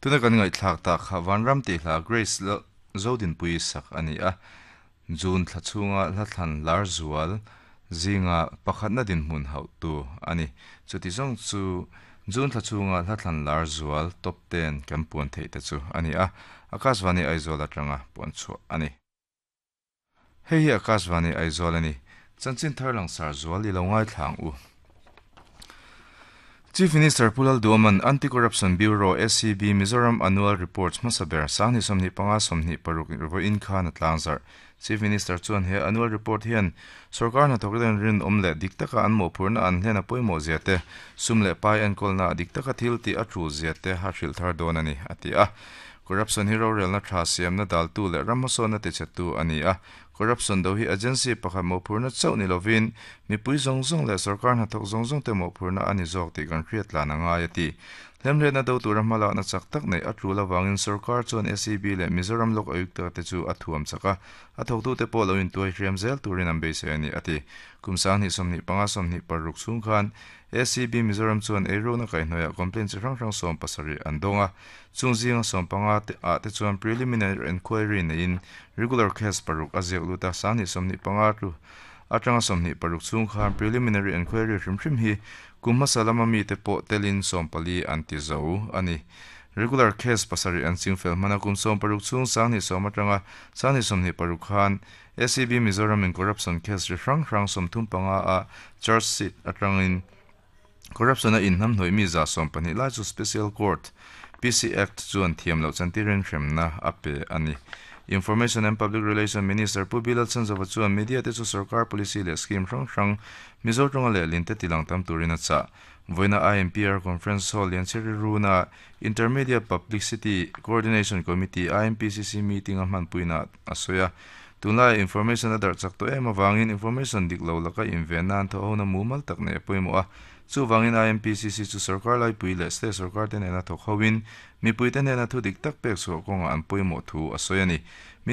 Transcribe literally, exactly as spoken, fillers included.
Tuna kan ngaihthlak tak kha Vanram tih hla Grace Zodinpui sak a ni a. June thla chhunga hla thlan lar zual zinga pakhatna dinhmun hauhtu a ni. Chuti zawng chu June thla chhunga hla thlan lar zual top ten kan puan theih te chu a ni a. Akashvani Aizawl atanga puan chhuah a ni. Hei hi Akashvani Aizawl a ni. Chanchin thar langsar zual i lo ngaithlang u. Chief Minister Pu Lalduhoma'n Anti-Corruption Bureau A C B Mizoram Annual Reports hmasa ber sangni sawmhnih panga sawmhnih paruk vawiin khan a tlangzarh. Chief Minister chuan he annual report hian sarkar hnathawk ten rinawm leh dik taka an mawhphurhna an hlen a pawimawh zia te, sum leh pai enkawlna dik taka thil tih a tul zia te a hrilh thar dawn a ni a ti a. Corruption hi rorelna tha siamna daltu leh ram hmasawnna tichhetu a ni a. Corruption do hi agency pakhat mawhphurhna chauh ni lovin mipui zawng zawng leh sarkar hnathawk zawng zawng te mawhphurhna a ni zawk tih kan hriat tlan a ngai a ti. Hlemhletna do tura hmalakna chak tak nei a tul awangin sarkar chuan A C B leh Mizoram Lok Ayukta te chu a thuam chak a, a thawktute pawh lo intuai hriam zel turin an beisei a ni a ti. Kum sanghnih sawmhnih panga sawmhnih paruk chhung khan A C B Mizoram chuan eirukna kaihhnawihah complaint chi hrang hrang sawm pasarih an dawng a. Chung zinga sawm panga te ah te chuan preliminary enquiry neiin regular case paruk a ziak lut a. Sanghnih sawmhnih panga tu atanga sawmhnih paruk chhung khan preliminary enquiry hrim hrim hi kum hmasa lama mi te pawh telin sawm pali an ti zo a ni. Regular case pasarih an chingfel hmana. Kum sawm paruk chhung sanghnih sawm atanga sanghnih sawmhnih paruk khan A C B Mizoram in corruption case ri hrang hrang sawmthum panga a charge sheet atangin corruption a inhnamhnawih mi za sawm pahnih lai chu Special Court P C Act chuan thiam loh chantirin hremna a pe a ni. Information and Public Relation Minister Pu B Lalchhanzova chuan media te chu sarkar policy leh scheme hrang hrang Mizo tawnga leh linte tilang tam turin a chah. Voina I M P R Conference Hall Liancheri Runa Intermediate Publicity Coordination Committee I M P C C meeting a hmanpuina a sawi a. Tunlai information a darh chak tawh em awangin information dik lo laka inven nan tho hona mumal tak nei pawimawh a. Chuwangin I M P C C chu sarkar laipui leh state sarkar te nena thawk hoin mipui te nena thu dik tak pek chhuah kawnga an pawimawh thu a sawi a ni.